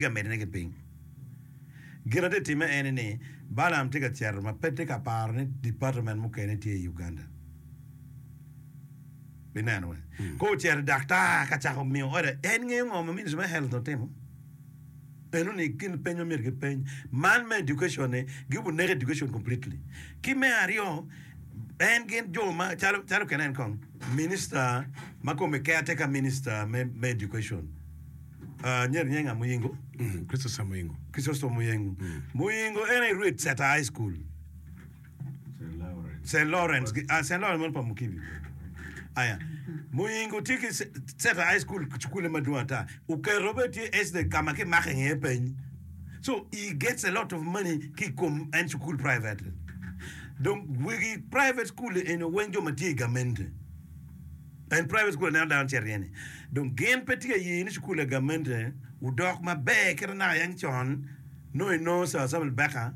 ka medone ki piny. Gin ma tye ka timme en ni, Balaam tye ka cito ma pe tye ka paro ni department mukene tye i Uganda. Bineno we. Ka ocito i daktar ka cako miyo order, en ngeyo ngo ma Ministry me Health otimo? Eno ni gin peny ma myero gipeny. Man me education ni, gibu neko education completely. Ki me aryo, en gin jo ma calo calo kene en kong minister ma kome caretaker minister me me education. Nyeri nye nga Muyingo? Christopher Muyingo. Christopher Muyingo. Muyingo en aye rwed Seta High School. St. Lawrence. Ah, St. Lawrence meno pa Mukibi. Aya. Muyingo tye ki Seta High School cukule madwong ata. Oketo bene tye SD ka ma kimako iye peny. So he gets a lot of money ki i kom en cukul private. Dong wegi private school eni weng jo ma tye i gamente. En private school aneno dano cito iye ni dong gin pe tye ka ye ni cukul a gamente odok maber kite naka yang con nongo inongo Sir Samuel Baker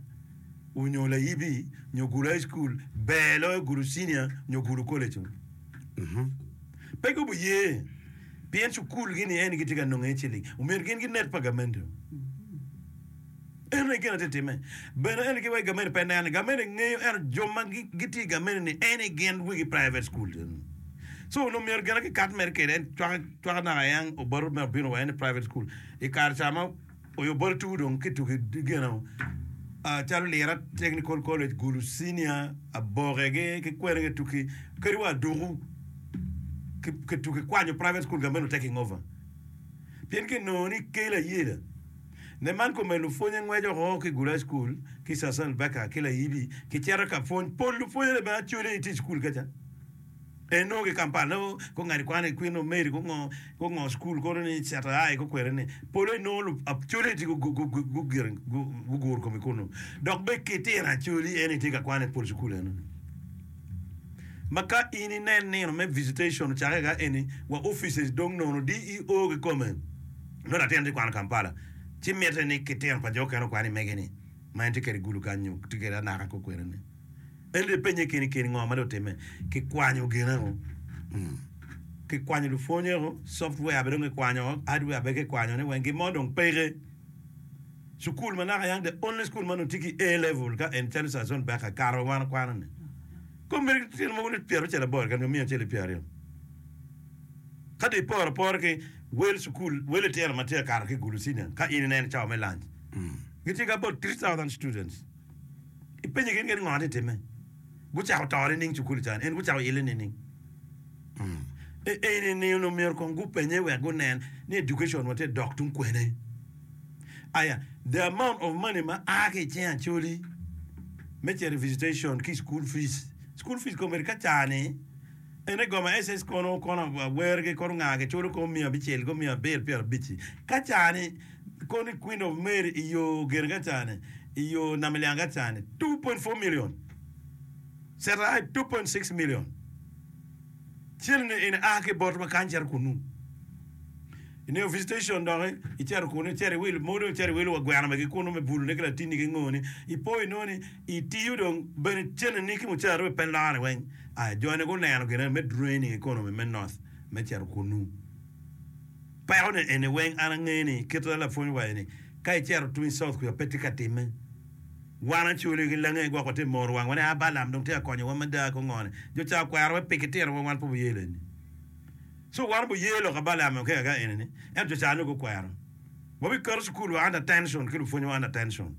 onyo Layibi nyo Gulu High School ber loyo Gulu Senior nyo Gulu College pe gubu ye pien cukul gi ni eni gitye ka nongo iye ciling omyero gin ginek pa gamente. Eno aye gin atye timme. Bene eni ki wai gamene pe neno. Gamene ngeyo ento jo ma gitye i gamene ni eni gin wegi private school. So onongo myero gina ki kat mere kede en cwaka cwaka naka yang oboto me obino wa en i private school. I kare ca ma oyo oboto tuku dong ki tuku gino calo Lira Technical College, Gulu Senior, Aboke gi ki kwene ki tuki kadi wa Aduku ki tuki kwanyo private school gamene taking over. Pien ki nongo ni kelo ayela. Ne man kome lupwonye ngweco oko ki Gulai School ki Sasson Baker ki Layibi ki cito ka pwony. Pol lupwonye ne bene acwele itye i cukul kaca. En nongo ki Kampala nongo ko ngati kwan i Queen of Mary ko ngo ko ngo cukul kono ni Ceta High ko kwene ni pole nongo acwele itye guguro kome kunu. Dok be kitino acweli en itye ka kwan i pol cukul eno ni. Ma ka in inen nino me visitation ocake ka eni wa offices dong nono DEO kikome. Nongo latin tye kwano Kampala ci mitte ni kitino pa jo okene okwan i mege ni ma en tye kwede i Gulu kany nyo tye kwede anaka ko kwede ni. En dong ipenye keni keni ngo ma dong otimme. Kikwanyo gine o. Kikwanyo lupwonye o, software bene dong kikwanyo o, hardware bene kikwanyo ne weng gin mo dong peke. Cukul ma naka yang the only school ma nongo tye ki A level ka en calo Sazon Beka kare ma wan wakwano ni. Kome tyen mogo ni 98 keken nyo 120. Ka dong iporo apora ki wel cukul, wel litino ma tye ka kato ki i Gulu Senior, ka in ineno cawa me lunch, gitye ki about 3,000 students. Ipenyo gin kadi ngo ma tye ka timme. Gucako to nining cukul ca-ni? En gucako ile nining? E- Eni ni onongo myero kong gupenye wek gunen ni education wa tye dok tung kwene. Aya, the amount of money ma a ki i cing Acholi me cito i visitation ki school fees. School fees kombeddi ka ca-ni En i goma SS kono kono awergi kono nga giculo kono miya abicel kono miya abiro pyerabic-ci. Ka cani kono i Queen of Mary i yo gire ka cani i yo Namilyango ka cani 2.4 million cito ai 2.6 million cene ni eni a ki botwa kany cito kunu. Ineno visitation doki icito kunu icito iwilo modo icito iwilo wa gweno megi kunu me bulune ki latinni ki ngoni ipo inongo ni itiyo dong bene cene ni ki mucara bene pe lore weng. Aya, jo-ni guneno gin eni me draining economy me North me cito kunnu. Peko ni eni weng an angeyo ni kit ma lapwony owaco ni ka icito tung i South kuca pe tye ka timme. Wan Acholi ki Lange gwok watye moro wangwa ni a Balaam dong tye ka konyowa mada ki ongo ni. Jo ca okwero wa pi kitito wa wan pe wuye leni. So wan wuye lok a Balaam oke ka eni ni ento jo ca nongo gukwero. Wabiketo cukul wa under tension ki lupwony wa under tension.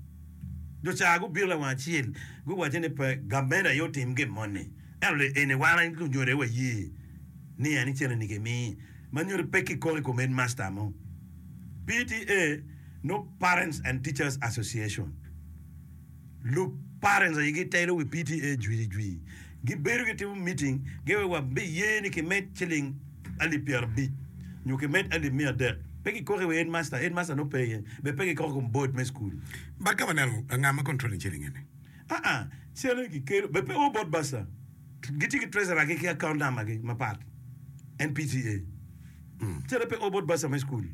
Jo ca gubino lawang acel guwacce ni pe gamente aye otim gin moni ento li eni wan aye lunyodo aye waye ni en cene ni kimi ma nyuto pe kikok i kom headmaster mo. PTA no Parents and Teachers Association. Lu parents aye gitelo wi PTA jwi jwi. Gibedo gitimo meeting giwaco wabiye ni kimed ciling alip 50 nyo kimed alip miya adek. Pe kikoko i wi headmaster, headmaster nongo pe iye. Bene pe kikoko i kom board me school. But ka waneno nga ma controlling ciling eni? Aa, cene kikelo bene pe o bot bursar. Gitye ki treasurer gi ki account number gi mapat. En PTA. Cene pe o bot bursar me school.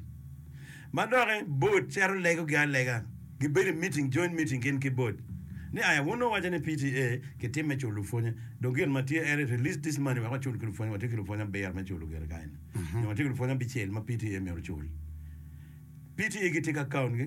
Ma doki board cito legogi alega. Gibedo i meeting, joint meeting gin ki board. Ni aya wun nongo wuwaco ni PTA kitim me culo lupwonye. Dong gin ma tye en ni release this money wek wacul ki lupwonye. Watye ki lupwonye abiro me culo gire kany. Nyo watye ki lupwonye abicel ma PTA myero ocul. PTA gitye ki account gi.